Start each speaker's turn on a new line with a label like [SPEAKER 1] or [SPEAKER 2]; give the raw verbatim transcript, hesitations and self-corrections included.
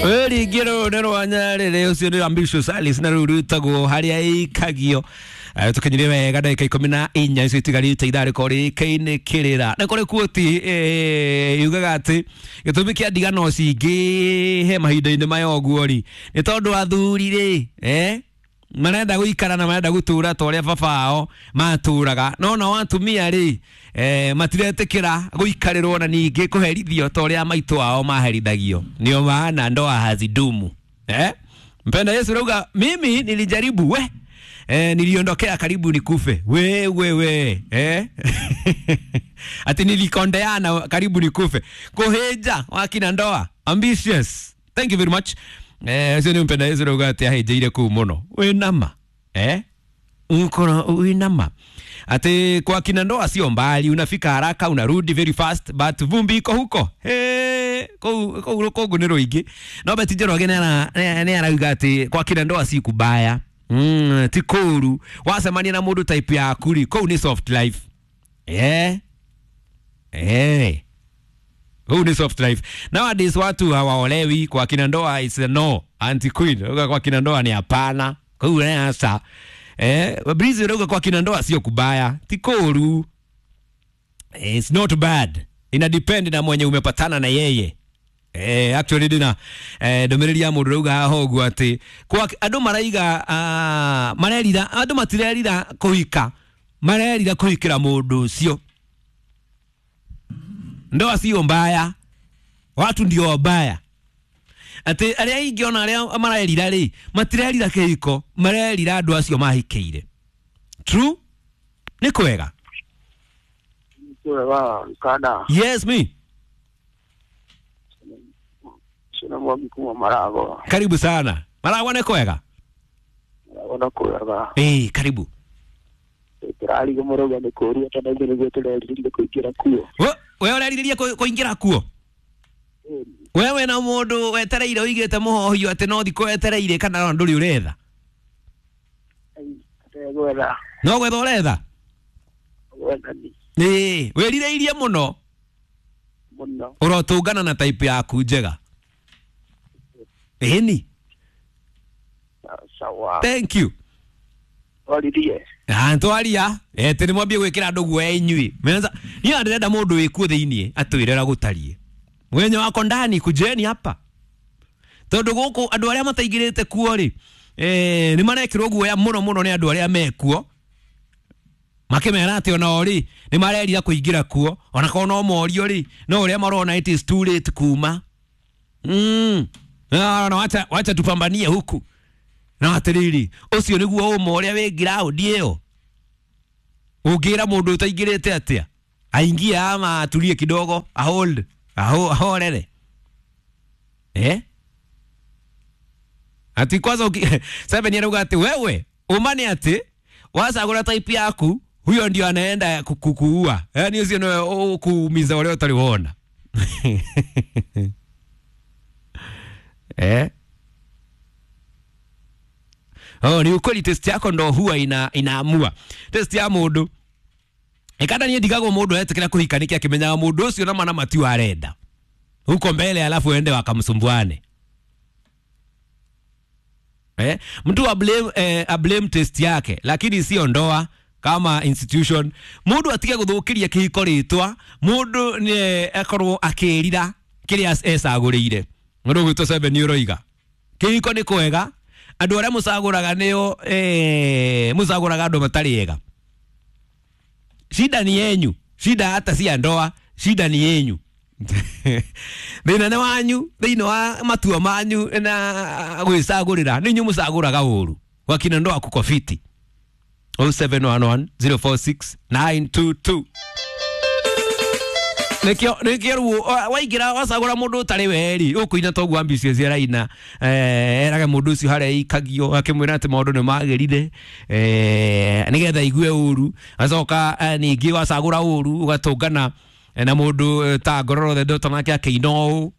[SPEAKER 1] Rĩngĩ nĩ rwa Nyarĩrĩ ũcio nĩ Ambitious Alice na rĩu rwĩtagwo harĩa ĩikagio. Tũkinyire wega ndagĩka ikũmi na inya icio itigarĩte ithaa rĩkorwo rĩkainĩ kĩrĩra na kũrĩ kuoti yugaga atĩ gĩtũmi kĩa ndigano cingĩhe mahinda-inĩ maya ũguo rĩ nĩ tondũ athuri rĩ eh marenda gũikara na marenda gũtũra ta ũrĩa baba ao matũraga no nao atumia rĩ eh, matiretĩkĩra gũikarĩrwo na ningĩ kũherithio ta ũrĩa maitũ ao maherithagio ndio maana ndoa hazidumu eh? Mpenda Yesu rauga mimi nilijaribu we eh, niliondokea karibu nikufe we we we eh? Ati nilikondeana karibu nikufe kuheja wakina ndoa ambitious. Thank you very much. Eh, ucio nĩ mpenda Yesu rauga atĩ ahĩnjĩire kũu mũno wĩnama eh ukora wĩnama ati kwa kina ndoa sio mbali, unafika haraka unarudi very fast but vumbi iko huko he kuu kuu rũkũngũ nĩ rũingĩ. No Betty Njoroge nĩ arauga atĩ kwa kina ndoa si kubaya mm, ti kũũru wacemania na mũndũ type yaku rĩ kũu nĩ soft life eh eh huu ni soft life. Nowadays watu hawaolewi kwa kina ndoa is a no. Auntie Queen uga kwa kina ndoa ni hapana. Kwa hiyo sasa eh Breezy uga kwa kina ndoa sio kubaya. Tikoru. It's not bad. Ina depend na mwenye umepatana na yeye. Eh actually dina eh ndomereri ya mundu rauga haho uguo ati kwa andu maraiga uh, marerira andu matirerira kuhika marerira kuhikira mundu ucio. Ndoa sio mbaya, watu ndio wabaya. Ati aria aingĩ ona aria marerira rĩ matirerira kĩhiko marerira andũ acio mahikĩire. True? Nĩ kwega?
[SPEAKER 2] Kwega kana.
[SPEAKER 1] Yes me.
[SPEAKER 2] Sina mwangi kuma Maragwa.
[SPEAKER 1] Karibu sana. Maragwa nĩ kwega?
[SPEAKER 2] Maragwa nĩ kwega.
[SPEAKER 1] Eh, karibu.
[SPEAKER 2] Turari gũmũrũga nĩ kũũria tondũ ithuĩ nĩguo tũrerirĩria kũingĩra kuo.
[SPEAKER 1] We ũrerirĩria kũingĩra kuo? We wena mũndũ wetereire ũigĩte mũhohio atĩ no thikũ wetereire kana no ndũrĩ ũretha?
[SPEAKER 2] Gwetha.
[SPEAKER 1] No gwetha ũretha?
[SPEAKER 2] Gwetha ni.
[SPEAKER 1] Ĩĩ, wĩrirĩirie mũno?
[SPEAKER 2] Mũno.
[SPEAKER 1] Ũrotũngana na type yaku njega. Ĩni?
[SPEAKER 2] Sawa.
[SPEAKER 1] Thank you.
[SPEAKER 2] Twaririe.
[SPEAKER 1] Ah, twaria. Eh, tene mwambie gwikira andu guoya inyui. Menza, ni ndirenda mundu wikuo thiini atwire ura gutarie. Mwenye wako ndani kujeni hapa. Tondu guku andu aria mataingirite kuo ri eh ni marekirwo guoya muno muno ni andu aria mekuo. Makimera ati ona ori ni marerira kuingira kuo ona korwo no morio ri no uria marona it is too late kuma. Mm. No, no, wacha wacha tupambanie huku. Na atiriri ucio niguo uma uria wi ground iyo ungira mundu utaingirite atia aingie ama atulie kidogo a hold aho ahorere eh ati kwanza seven yarauga ati wewe umane ati wasagura type yaku huyo ndio anaenda kukuua yani ucio no kuumiza wale utaliona eh Oh, ni ukweli test yako ndo huwa ina inaamua. Test ya mundu. Ikanda nie ndigagwo mundu etikira kuhika niki akimenyaga mundu ucio na mana matiu arenda. Huko mbele alafu ende wakamsumbuane. Eh, mtu a blame eh, a blame test yake lakini sio ndoa kama institution. Mundu atige guthukiria kihiko ritwa, mundu ni akorwo akirira kiria ecagurire. Mundu gwitwo seven ni uroiga. Kihiko ni kwega. Andu aria mucaguraga nio eh mucaguraga andu matari ega. Shida ni yenyu, shida hata si ya ndoa, shida ni yenyu. Thina ni wanyu, thina wa matua manyu na gwicagurira, ni inyu mucaguraga uru. Wakina ndoa kuko fiti. oh seven one one, zero four six, nine two two. Nikio nikio ruo waingira wacagura mundu utari weri ukuina toguo ambitious araina eh eraga mundu ucio haria ikagio akimwira ati maundu ni magirire eh nigetha igue uru acoka ningi wacagura uru ugatungana na mundu ta ngororo the daughter nake akiina uu.